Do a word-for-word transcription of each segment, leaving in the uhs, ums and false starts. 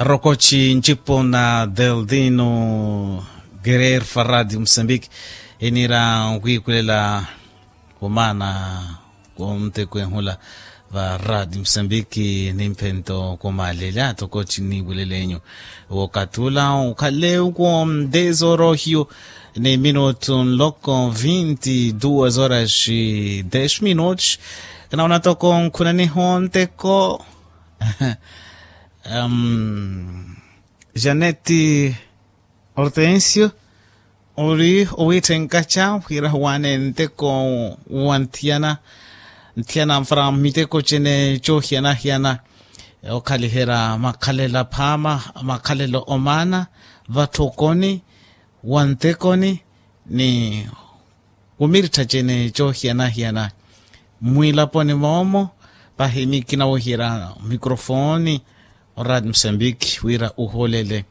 Rokoci ncipo na deldino gerer fa radio musambiki. Iniira nkwiikulela kumaana kwontekwenhula va radio musambiki nimphento kumaalelya tokoci niiwulelenyu. Wokatula ukhale uko dez horas hiyo ni minutu nloko vinti duas horas dez minutos. Kanaona toko nkhunaniho nteko janeti hortensio ori owitthenkaca wira huwaane nteko wa nthiyana nthiyana mfara miteko cene coohiyana-hiyana okhaliherya makhalelo aphaama makhalelo omaana vatthokoni wa ntekoni ni kumirittha cene coohiyana-hiyana mmwiilaponi moomo pahi mikinawihira mikrofoni oradi musambiki wira uholele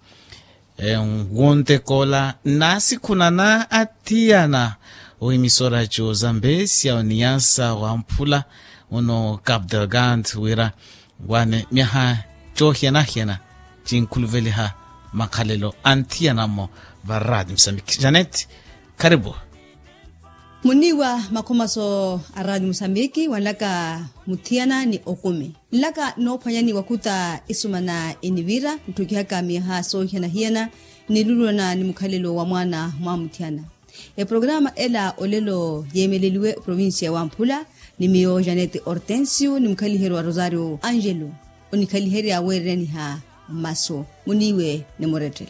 nguntekoola nnaasikhunana athiyana ohimisora co zambesya oniyasa wamphula muno cap delgand wira wane myaha coohiyana-hiyana cinkhuluveliha makhalelo anthiyanamo varadi musambiki janet karibu. Muniiwa makhomaso a radio musambiki wanlaka muthiyana ni okumi nlaka noophwanyani wakhuta isumana enivira ntthukhihaka miyaha soohiyana-hiyana nilulwana ni mukhalelo wa mwaana mwa muthiyana. Eprograma ela olelo yeemeleliwe oprovincia wamphula ni miyo janete hortensio ni mukhaliheryo wa rosario angelo onikhaliherya weereraniha mmaso muniiwe ni murettele.